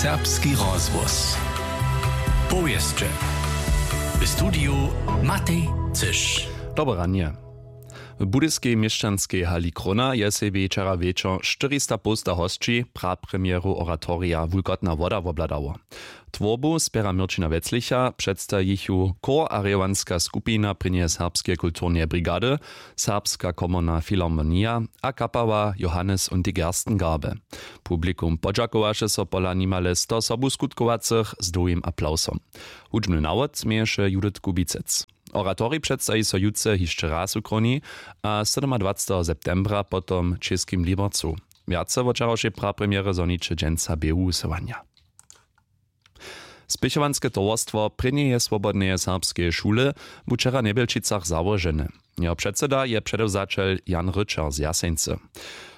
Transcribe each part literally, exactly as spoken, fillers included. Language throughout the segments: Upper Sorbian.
Serbski rozhłos. Powěsće. W studiju Matej Cyš. Dobre ranje. W budyskej měšćanskej hali Krona je sebi wčera wječor štyrista połsta hosći prapremjeru oratorija Wulkotna woda wobhladało. Twórbu spjera Měrćina Weclicha, předstaji ju chór a rěwanska skupina prěnjeje serbskeje kulturneje brigady, Serbska komorna filharmonija a kapała Johannes und die Gerstengarbe. Publikum podźakowaše so pola nimale sto sobuskutkowaceho z dołhim aplawsom. Hudźbny nawod měješe Judith Kubicec. Oratorij předstaji so jutře hišće raz w Kroni a sydomadwaceteho septembra potom w Českim Libercu. Wjace wo wčerawšej prapremjerje zhoniće dźensa běhu wusyłanja. Spěchowanske towarstwo prěnjeje swobodneje serbskeje šule bu wčera w Njebjelčicach załožene. Jeho předsyda je předewzaćel Jan Ryćer z Jaseńcy.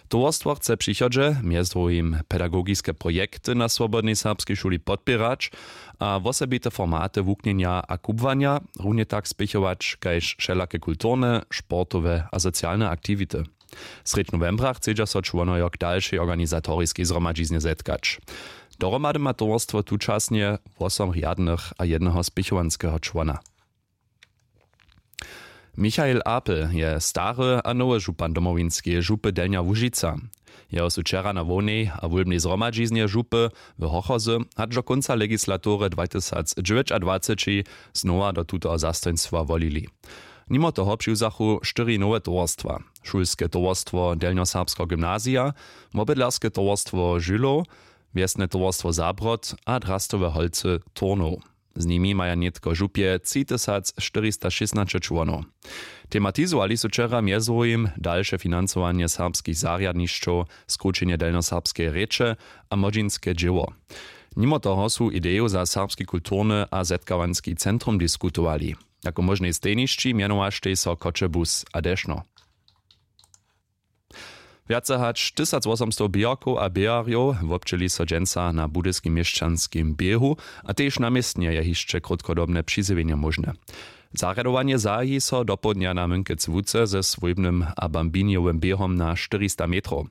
Towarstwo chce w přichodźe mjez druhim pedagogiske projekty na swobodnej serbskej šuli podpěrać a wosebite formaty wuknjenja a kubłanja, runje tak spěchować kaž wšelake kulturne, sportowe a socialne aktiwity. Srjedź nowembra chcedźa so čłonojo k dalšej organizatoriskej zhromadźiznje zetkać. Dohromady ma towarstwo tučasnje wosom rjadnych a jedneho spěchowanskeho čłona. Michael Apel je stary a nowy župan Domowinskeje župy Delnja Łužica. Jeho su wčera na hłownej a wólbnej zhromadźiznje župy w Hochozy hač do kónca legislatury dwatysacdźewjećadwaceći znowa do tutoho zastojnstwa wolili. Nimo toho přiwzachu štyri nowe towarstwa: šulske towarstwo Delnjoserbskeho gymnazija, wobydlerske towarstwo Žylow, wjesne towarstwo Zabrod a drastowe holcy Turnow. Z nimi maja nětko w župje třitysac štyristašěsnaće čłonow. Tematizowali su wčera mjez druhim dalše financowanje serbskich zarjadnišćow, skrućenje delnjoserbskeje rěče a młodźinske dźěło. Nimo toho su ideju za serbski kulturny a zetkawanski centrum diskutowali. Jako móžnej stejnišći mjenowaštej so Choćebuz a Dešno. Wjace hač tysacwosomstow běharkow a běharjow wobdźěli so dźensa na budyskim měšćanskim běhu a tež na městnje je hišće krótkodobne přizjewjenje móžne. Zarjadowanje zahaji so dopołdnja na Mynkec Łuce ze swójbnym a bambinjowym běhom na štyrista metrow.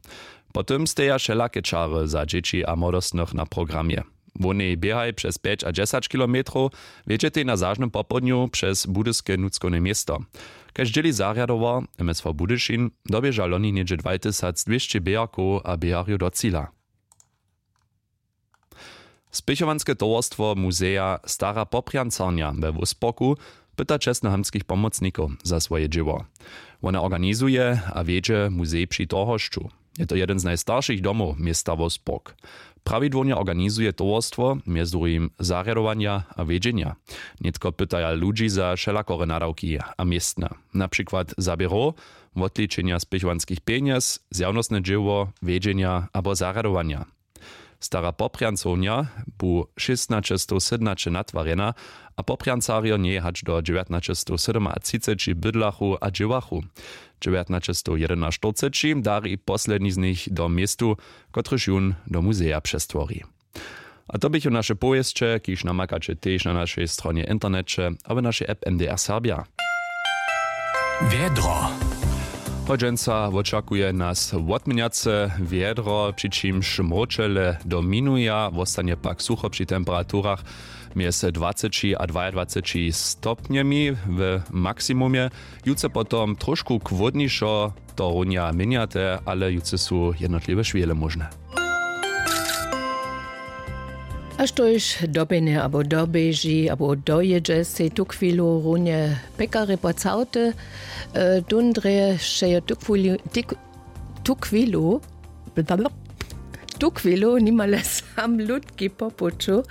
Po tym steja wšelake čary za dźěći a młodostnych na programje. Wonej běhaj přez pjeć a dźesać kilometrow wjedźetej na zažnym popołdnju přez budyske nutřkowne město. Kaž dźěli zarjadowar M S V Budyšin, doběža loni něhdźe dwatysacdwěsće běharkow a běharjow do cila. Spěchowanske towarstwo muzeja Stara Poprjancarnja we Wósporku pyta čestnohamtskich pomocnikow za swoje dźěło. Wone organizuje a wjedźe muzej při Torhošću. Je to jedyn z najstaršich domow města Wolfsburg. Prawidłownje organizuje towarstwo mjez druhim zarjadowanja a wjedźenja. Nětko pytaja ludźi za wšelakore nadawki a městna, na přikład za běrow, wotličenja spěchowanskich pjenjez, zjawnostne dźěło, wjedźenja abo zarjadowanja. Stara Poprjancownja bu šěstnaćestowsydomnaće natwarjena a Poprjancarjo njej hač do dźewjatnaćestowsydomatřiceći bydlachu a dźěłachu. Dźewjatnaćestowjedynaštyrceći dari posledni z nich do městu, kotryž jón do muzeja přestwori. A to běchu naše powěsće, kiž namakaće tež na našej stronje w interneće a w našej app M D R Serbja. Wjedro. Hodźenca wočakuje nas wotměnjace wjedro, při čimž mróčele dominuja, wostanje pak sucho při temperaturach mjez dwaceći a dwajadwaceći stopnjemi w maksimumje. Jutře potom trošku chłódnišo, to runja měnjate, ale jutře su jednotliwe šwěle móžne. A štož doběhne abo doběži abo dojědźe, sej tuchwilu runje pěkarje pocałte. Tón drje wšejo tuchwilu, tuchwilu, tuchwilu nimale sam lutki po puću.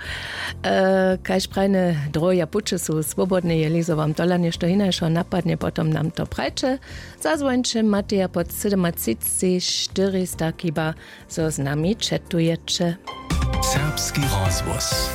Kaž prajne, droje puće su swobodne, jeli zo wam tola něšto hinašo napadnje, potom nam to prajće. Zazwońće mateja pod sydomatřiceći štyrista, kiba zo z nami četujeće. Serbski rozhłos.